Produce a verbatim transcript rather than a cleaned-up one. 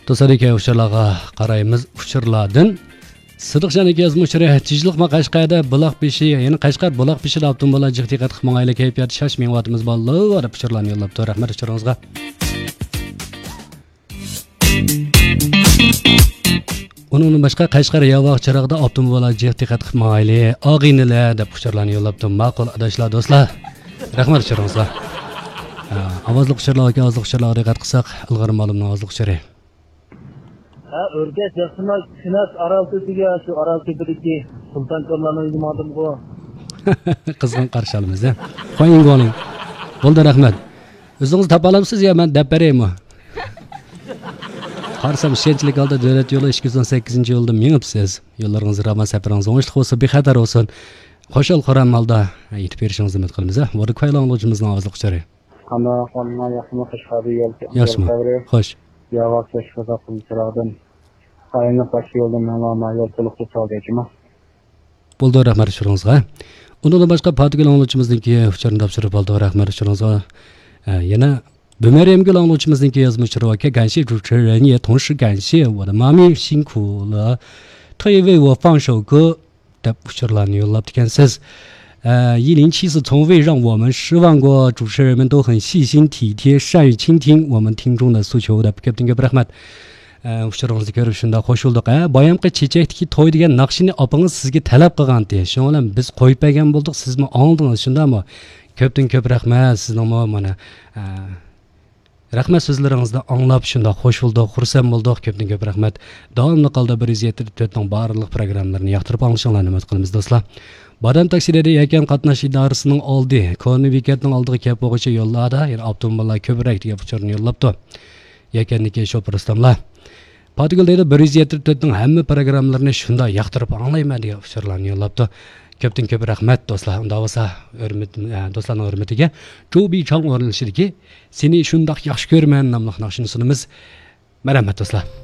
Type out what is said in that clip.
توسادىكى ئۇچۇرلارغا قارايمىز. ئۇچۇرلاردىن سىدىقجان ئاكا يازما ئۇچۇرى، تىنچلىقمۇ قەشقەردە بۇلاق بېشى، يەنى قەشقەر بۇلاق بېشىدا ئاپتوموبىللار جىق دىققەت قىلىپ ماڭايلى، كەيپىياتى شاش مېڭىۋاتىمىز بالىلار، دەپ ئۇچۇرلارنى يوللاپتۇ. رەھمەت ئۇچۇرىڭىزغا. ئۇنىڭدىن باشقا قەشقەر ياۋاق چىراغدا ئاپتوموبىللار جىق دىققەت قىلىپ ماڭايلى، ئاغىنىلەر، دەپ ئۇچۇرلارنى يوللاپتۇ. ماقۇل ئاداشلار، دوستلار. رەھمەت ئۇچۇرىڭىزغا. ھە، ئاۋازلىق ئۇچۇرلار ياكى ئازلىق ئۇچۇرلارغا دىققەت قىلساق، ئىلغار مالۇمنىڭ ئازلىق ئۇچۇرى. ھە، ئۆركەش ياخشىمۇ؟ كۈنەس ئارال تۆپىگە، شۇ ئارال تۆپىدىكى سۇلتان كونلارنىڭ ئۆيىگە ماڭدىمغۇ. قىزغىن قارشى ئالىمىز، ھە. خويىڭگوڭلىڭ. بولدى، رەھمەت. ئۆزىڭىز تاپالامسىز يا مەن دەپ بېرەيمۇ؟ قارىسام، ئىشەنچلىك ھالدا دۆلەت يولى ئىككى يۈز ئون سەككىزىنچى يولدا مېڭىپسىز. يوللىرىڭىز راۋان، سەپىرىڭىز ئوڭۇشلۇق بولسۇن، بىخەتەر بولسۇن. خۇشال-خۇرام ھالدا يېتىپ بېرىشىڭىزنى ئۈمىد قىلىمىز، ھە. ۋوردا كۇەي ئاڭلىغۇچىمىزنىڭ ئازلىق ئۇچۇرى. قانداق ئەھۋالىڭلار، ياخشىمۇ؟ خۇشخەۋەر يول، ياخشىمۇ؟ يول خەۋىرى. خوش. ياۋاق كەچ قازا قىلدى چىراغدىن. ئايلىنىپ باشقا يولدىن مېڭىڭلار، يول تولۇق توسالدى جۇمۇ. بولدى، رەھمەت ئۇچۇرىڭىزغا. ئۇنىڭدىن باشقا پاتىگۈل ئاڭلىغۇچىمىزنىڭكى ئۇچۇرىنى تاپشۇرۇپ ئالدۇق، رەھمەت ئۇچۇرىڭىزغا. ئە، يەنە بۈمەريەمگۈل ئاڭلىغۇچىمىزنىڭكى يازما ئۇچۇرى باركەن، 感谢主持人，也同时感谢我的妈咪辛苦了，特意为我放首歌 دەپ ئۇچۇرلارنى يوللاپتىكەنسىز. ئە، 一零七四从未让我们失望过，主持人们都很细心体贴，善于倾听我们听众的诉求 دەپ كۆپتىن كۆپ رەھمەت. ئە، ئۇچۇرىڭىزنى كۆرۈپ شۇنداق خوش بولدۇق. ھە، بايامقى چېچەكتىكى توي دېگەن ناخشىنى ئاپىڭىز سىزگە تەلەپ قىلغانتى. شۇنىڭ بىلەن بىز قويۇپ بەرگەن بولدۇق، سىزمۇ ئاڭلىدىڭىز، شۇنداقمۇ؟ كۆپتىن كۆپ رەھمەت سىزنىڭمۇ مانا، ئە، رەھمەت سۆزلىرىڭىزنى ئاڭلاپ شۇنداق خوش بولدۇق، خۇرسەن بولدۇق. كۆپتىن كۆپ رەھمەت. داۋاملىق ھالدا بىر يۈز يەتتە تۆتنىڭ بارلىق پروگراممىلىرىنى ياقتۇرۇپ ئاڭلىشىڭلارنى ئۈمىد قىلىمىز، دوستلار. بادام تاكسىلىرى يەكەن قاتناش ئىدارىسىنىڭ ئالدى، كونا بېكەتنىڭ ئالدىغا كەپ بولغۇچە يوللاردا يەنە ئاپتوموبىللار كۆپرەك دېگەن ئۇچۇرنى يوللاپتۇ. يەكەندىكى شوپۇر ئۇستاملار. پاتىگۈل دەيدۇ، بىر يۈز يەتتە تۆتنىڭ ھەممە پروگراممىلىرىنى شۇنداق ياقتۇرۇپ ئاڭلايمەن دېگەن ئۇچۇرلارنى يوللاپتۇ. كۆپتىن كۆپ رەھمەت، دوستلار. ئۇنداق بولسا، ھۆرمەت، ئە، دوستلارنىڭ ھۆرمىتىگە جۇ بىچاڭ ئورۇنلىشىدىكى سېنى شۇنداق ياخشى كۆرىمەن ناملىق ناخشىنى سۇنىمىز. مەرھەمەت، دوستلار.